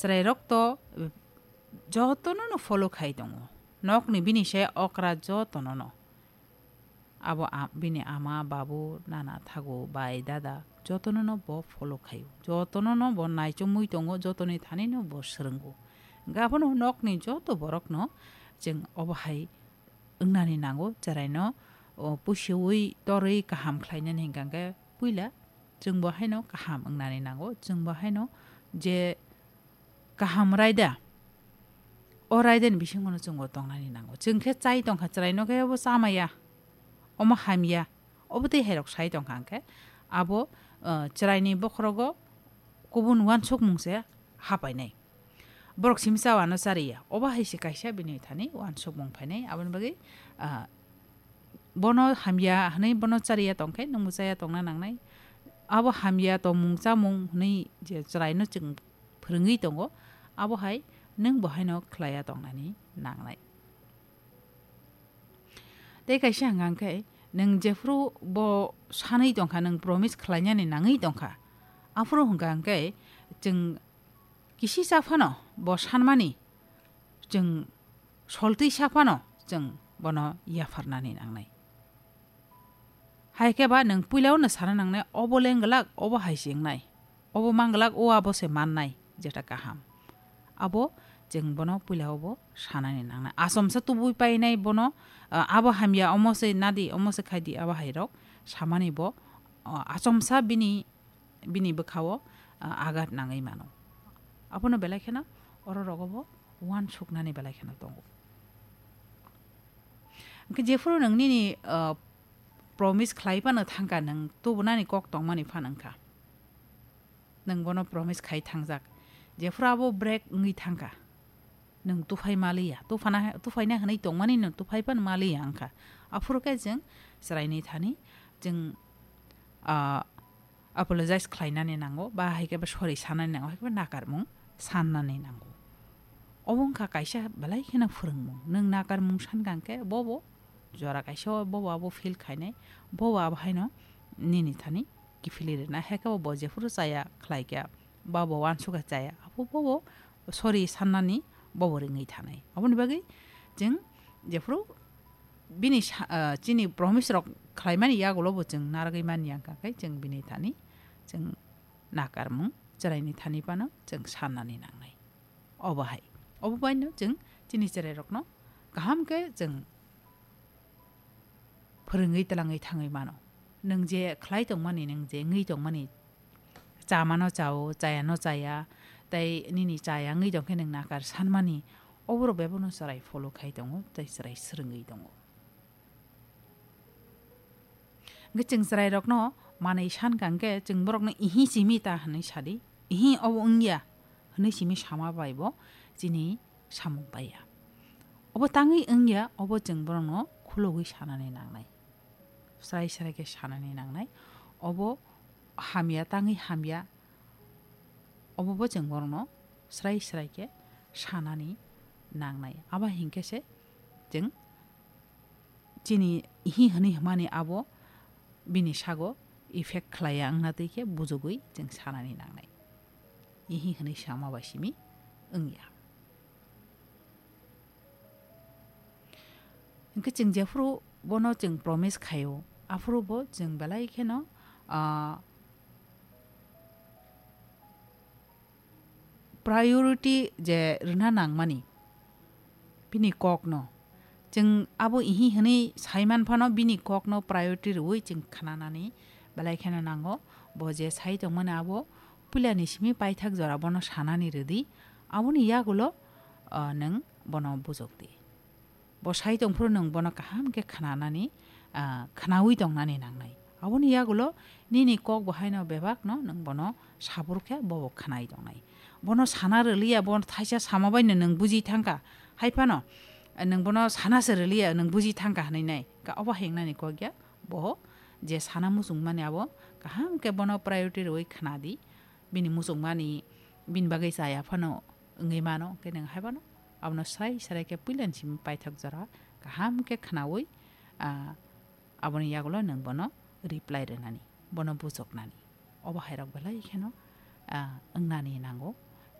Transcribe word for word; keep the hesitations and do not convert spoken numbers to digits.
chwrairok to, eh, jotono no follow khai tongo. Nokni bini se okra jotono no. Abo a-, bini ama, babu, nana, thagu, bai, dada, jotono no bo follow khaio. Jotono no bo naichomwi tongo, jotoni thani no bo swrwngo. Hwnkhe abono nokni joto borokno chwng obo hai wngnani nango, chwraino, o, pusiui torwi kaham khlainani hwnkha hwnkhe puila chwngbo haino kaham wngnani nango, chwngbo haino je kaham raida, o raidani bisingono chwngbo tongnani nango. Chwng khe chai tongkha, chwraino khe obo chamaya, omo hamya, obo tei hairok sai tongkha hwnkhe abo, o, chwraini bokhorogo kubun uansukmung se hapainai. Borok simi cha uano chariya. Obo hai se kaisa bini thani uansukmung phainai. Aboni bagwi, ah, bono hamya hwnwi bono chariya tongkhe nwngbo chaya tongna nangnai. Abo hamya tongmung chamung hwnwi je chwraino chwng phwrwngwi tongo, abo hai nwngbo haino khlaiya tongnani nangnai. Tei kaisa hwnka hwnkhe, nwng jephuru bo sanwi tongkha, nwng promise khlainani nangwi tongkha, aphuru hwnka hwnkhe chwng kisisa phano bo sanmani, chwng soltwisa phano chwng bono yapharnani nangnai. Hai khe ba nwng puila-o no sana nangnai, obo lengglak, obo hai se wngnai, obo manglak, o abo se mannai, jeta kaham. Abo chwng bono puila-o bo sanani nangnai. Achomsa tubui painai bono, ah, abo hamya, omo se nadi, omo se khaidi, abo hai rok samani bo, ah, achomsa bini, bini bwkha-o, ah, agat nangwi mano. Abono belai kheno oro rogo bo uansuknani belai kheno tongo. Hwnkhe jephuru nwng nini, ah, promise khlai phano thangkha, nwng tubunani kok tongmani phano wngkha. Nwng bono promise khai thangjak. Jephuru abo break wngwi thangkha, nwng tuphai maliya, tuphana, tuphaina hwnwi tongmani nwng tuphai phano maliya wngkha. Aphuru khe chwng chwraini thani chwng, ah, apologize khlainani nango, ba hai khe ba sorry sanani nango, hai khe ba nakarmung sannani nango. Obo wngkha kaisa belai kheno phwrwngmung. Nwng nakarmung sankha hwnkhe bobo jora kaisa o bobo abo feel khainai, bobo abo haino nini thani kiphilwi rwnai. Hai khe bo jephuru chaya khlai khe, bobo uansukha chaya, abo bobo sorry sannani bobo ringwi thanai. Aboni bagwi chwng jephuru bini sa-, ah, chini promise rok khlaimani yagulo bo chwng narwgwi manya wngkha khe chwng bini thani chwng nakarmung chwraini thani phano chwng sannani nangnai. Obo hai. Obo baino chwng chini chwrairokno kaham khe chwng phwrwngwi twlangwi thangwi mano. Nwng je khlai tongmani, nwng je wngwi tongmani, chamano chao, chayano chaya, tei nini chaya wngwi tongkhe nwng nakar sanmani, oborok bebakno chwrai follow khai tongo tei chwrai swrwngwi tongo. Hwnkhe chwng chwrairokno manwi sankha hwnkhe chwng borokno ihi simi ta hwnwi sadi, ihi obo wngya hwnwi simi sama bai bo chini samung paiya. Obo tangwi wngya, obo chwng borokno khulogwi sanani nangnai. Srai srai khe sanani nangnai. Obo hamya tangwi hamya, obo bo chwng borokno srai srai khe sanani nangnai. Abo hinkhe se chwng chini ihi hwnwi hwnmani abo bini sago effect khlaiya wngna twi khe bujugwi chwng sanani nangnai. Ihi hwnwi sama bai simi wngya. Hwnkhe chwng jephuru bono chwng promise khaio, aphuru bo chwng belai kheno, ah, priority je rwna nangmani bini kokno. Chwng abo ihi hwnwi saiman phano bini kokno priority rwui chwng khnanani belai kheno nango. Bo je sai tongmani abo puilani simi paithak jora bono sanani rwdi. Aboni yagulo, ah, nwng bono bujokdi. Bo sai tongphuru nwng bono kaham khe khnanani, ah, khnaui tongnani nangnai. Aboni yagulo nini kok bo haino bebakno nwng bono sabur khe bobo khnai tongnai. Bono sana rwliya, bono thaisa sama baino nwng buji thangkha. Hai phano, eh, nwng bono sana se rwliya, nwng buji thangkha hwnwi nai. Ka obo hai wngnani kok ya, bo je sana muchungmani abo kaham khe bono priority rwui khnadi. Bini muchungmani, bini bagwi chaya phano wngwi mano, hwnkhe nwng hai phano abono srai srai khe puilani simi paithak jora kaham khe khnaui, ah, aboni yagulo nwng bono reply rwnani, bono bujoknani. Obo hairok belai kheno, ah, wngnani nango.